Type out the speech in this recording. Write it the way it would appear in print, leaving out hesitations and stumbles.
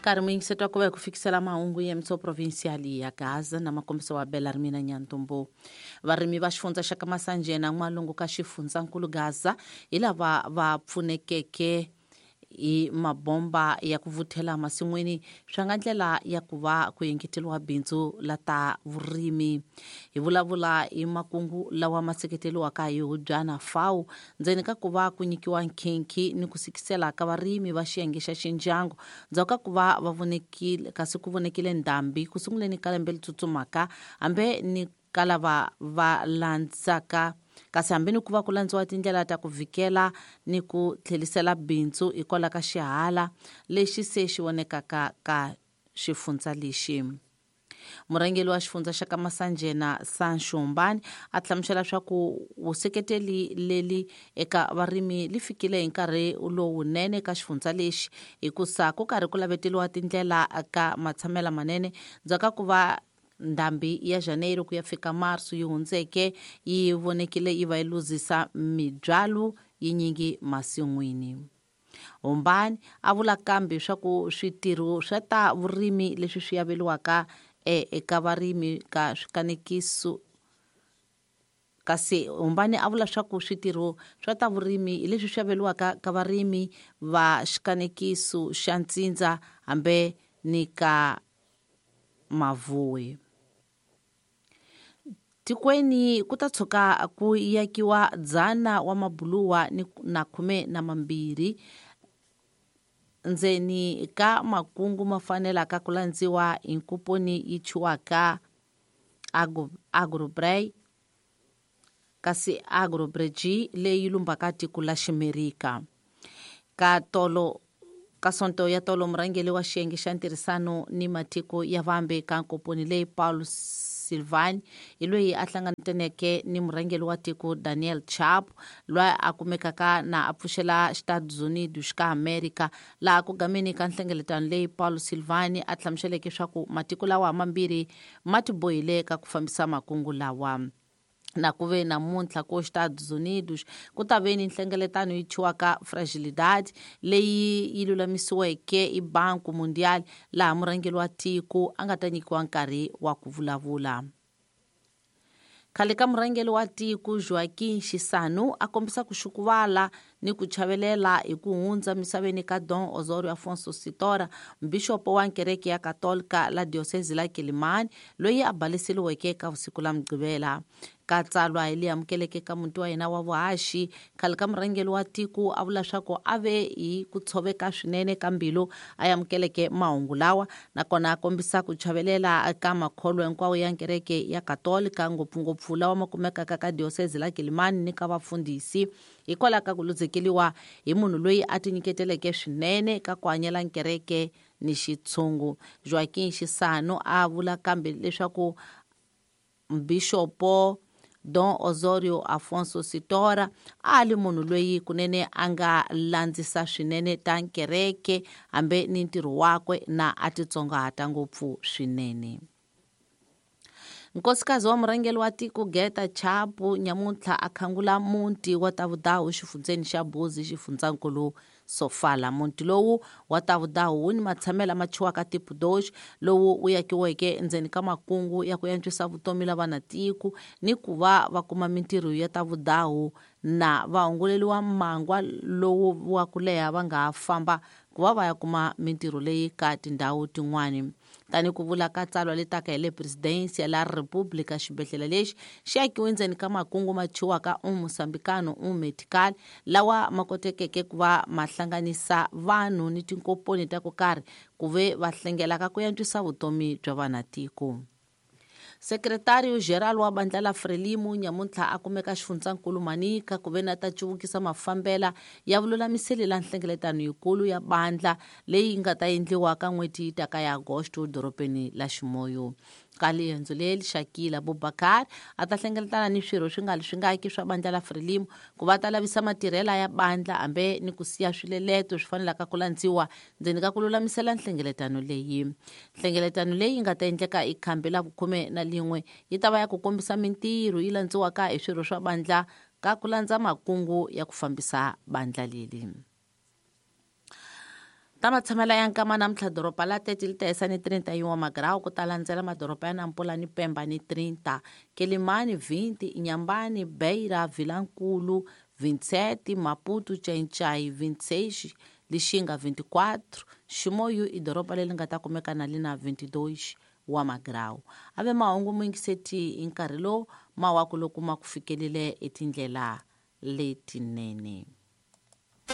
Nkarhi muyingisetwa ku va hi ku fikisela mahungu ya mtso provincial ya Gaza na makombiso wa Bela Rimina Nyantumbu. Varimi va xifundza xa ka Masanjena n'walungu ka xifundzankulu Gaza hi lava va pfunekeke hi mabomba ya ku vuthela masin'wini swa nga ndlela ya ku va ku engeteriwa bindzu la ta vurimi. Hi vulavula hi makungu lawa ma seketeriwaka hi Hubyana FAO ndzeni ka ku va ku nyikiwa nkhinkhi ni ku sikisela ka varimi va xiyenge xa Xinjiang ndzhaku ka ku va va vonekile kasi ku vonekile ndhambi ku sunguleni ka lembe leri tsutsumaka hambe ni ka lava va landzaka kasi hambi ni ku va ku landziwa tindlela ta ku vhikela ni ku tlhelisela bindzu hikwalaho ka xihala lexi se xi vonekaka ka xifundza lexi. Murhangeri wa xifundza xa ka Masanjena Sancho Mbani a hlamusela swa ku vuseketeli leli eka varimi li fikile hi nkarhi lowunene ka xifundza lexi hikusa ku karhi ku laveteliwa tindlela ka matshamela manene ndzhaku ka ku va ndhambi ya Janeiro ku ya fika Marso yi hundzeke yi vonekile yi va yi luzisa mibyalo yinyingi masin'wini. Hombani a vula kambe swa ku switirho swa ta vurimi leswi swi averiwaka eka varimi ka swikanekiso kasi Hombani a vula swa ku switirho swa ta vurimi hi leswi swi averiwaka ka varimi va xikanekiso xa ntsindza hambe ni ka Mavuwe. Tikweni ku ta tshuka ku yakiwa 100 wa mabuluwa ni na 12 ndzeni ka makungu ma fanelaka ku landziwa hi nkuponi yi thyiwaka Agrobray kasi Agrobreji leyi lumbaka tiko la Ximerika. Ka tolo ka sonto ya tolo murhangeri wa xiyenge xa ntirhisano ni matiko ya vambe ka nkoponi leyi Paulo Silvani hi loyi a hlanganeke ni murhangeri wa tiko Daniel Chapo loyi a kumekaka na a pfuxela Estados Unidos ka America laha ku gameni ka nhlengeletano leyi Paulo Silvani a hlamuseleke swa ku matiko lawa mambirhi ma tibohile ka ku fambisa makungu lawa. Na ku ve namuntlha ko Estados Unidos ku ta ve ni nhlengeletano yi thyiwaka Fragilidade leyi yi lulamisiweke hi Banco Mundial laha murhangeri wa tiko a nga ta nyikiwa nkarhi wa ku vulavula. Khale ka murhangeri wa tiko Joaquim Chissano a kombisa ku xukuvala ni ku chavelela hi ku hundza misaveni ka Dom Osorio Afonso Sitora, mbixopo wa kereke ya Katolika la diocese la Quelimane loyi a baleseriweke ka vusiku la Mugqivela. Ka tsalwa hi leyi amukeleke ka muti wa yena wa vuhaxi, khale ka murhangeri wa tiko a vula swa ku a ve hi ku tshoveka swinene ka mbilu a amukeleke mahungu lawa nakona a kombisa ku chavelela ka makholwa hinkwawo ya kereke ya Katolika ngopfungopfu lawa ma kumekaka ka diocese la Quelimane ni ka vafundhisi hikwalaho ka ku luzekeriwa hi munhu loyi a tinyiketeleke swinene ka ku hanyela kereke ni xitshungu. Joaquim Chissano a vula kambe leswaku Bixopo Dom Osorio Afonso Sitora a li munhu loyi kunene a nga landzisa swinene ta kereke hambe ni ntirho wakwe na a titsongahata ngopfu swinene. Nkosikazi wa murhangeri wa tiko Geta Chapo nyamuntlha a khangula muti wa Tavudawu xifundzeni xa Buzi xifundzankulu Sofala. Muti lowu wa Tavudawu wu ni matshamelo lama thyiwaka Tipudosh lowu wu yakiweke endzeni ka makungu ya ku antswisa vutomi la vana tiko ni ku va va kuma mintirho ya Tavudawu na va hunguleliwa mangwa lowu wa ku leha va nga ha famba ku va va ya kuma mintirho leyi ka tindhawu tin'wani. Tani ku vula ka tsalwa letaka hi le Presidencia la República, xibedhlele lexi xi akiwe ndzeni ka makungu ma thyiwaka un Moçambicano un Medical lawa ma kotekeke ku va ma hlanganisa vanhu ni tinkomponi ta ku karhi ku ve va hlengelaka ku antswisa vutomi bya vanatiko. Secretario Geral wa bandla la Frelimo nyamuntlha a kumeka xifundzankulu Manica ku ve na ta cuvukisa mafambela ya vululamiseli la nhlengeletano yikulu ya bandla leyi nga ta endliwa ka n'hweti yi taka ya Agosto dorobeni la Ximoyo. Ka riendzo leri Shakila Bubakar a ta hlengeletana ni swirho swi nga li swingaki swa bandla la Frelimo ku va ta lavisa matirhela ya bandla hambe ni ku siya swileleto swi fanelaka ku landziwa ndzeni ka ku lulamisela nhlengeletano leyi. Nhlengeletano leyi nga ta endleka hi khambi la vukhume na lin'we yi ta va ya ku kombisa mintirho yi landziwaka hi swirho swa bandla ka ku landza makungu ya ku fambisa bandla leri. Ta matshamela ya nkama namuntlha doroba la Tete li ta hisa ni 31 wa magrawu, ku ta landzela madoroba ya Nampula ni Pemba ni 30, Quelimane 20, Inhambane, Beira, Vilankulu 27, Maputo, Xai-Xai 26, Lixinga 24, Chimoio i doroba leri nga ta kumeka na li na 22 wa magrawu. A ve mahungu muyingiseti hi nkarhi lowu mawaku loko ma ku fikelile etindlela letinene.